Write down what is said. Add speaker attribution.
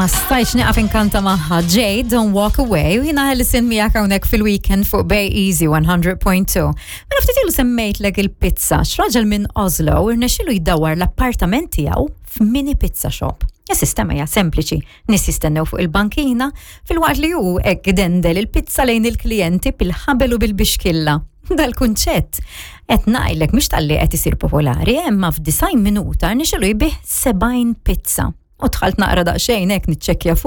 Speaker 1: Ma stajtx nieqaf inkanta magħha Jade, Don't Walk Away, u jiena Alison miegħek hawnhekk fil-weekend fuq Bay Easy 100.2. Mela ftit ilu semmejtlek il-pizza, x'raġel minn Oslo irnexxielu jdawwar l-appartament tiegħu f'mini pizza shop. Is-sistema hija sempliċi, nies jistennew fuq il-bankina filwaqt li hu hekk dendel il-pizza lejn il-klijenti bil-ħabel u bil-bixkilla. Dal-kunċett qed ngħidlek mhux talli qed isir popolari, imma f'disgħin minuta rnexxielu jbigħ 70 pizza. U dħalt naqra daqsxejn hekk niċċekkja fuq.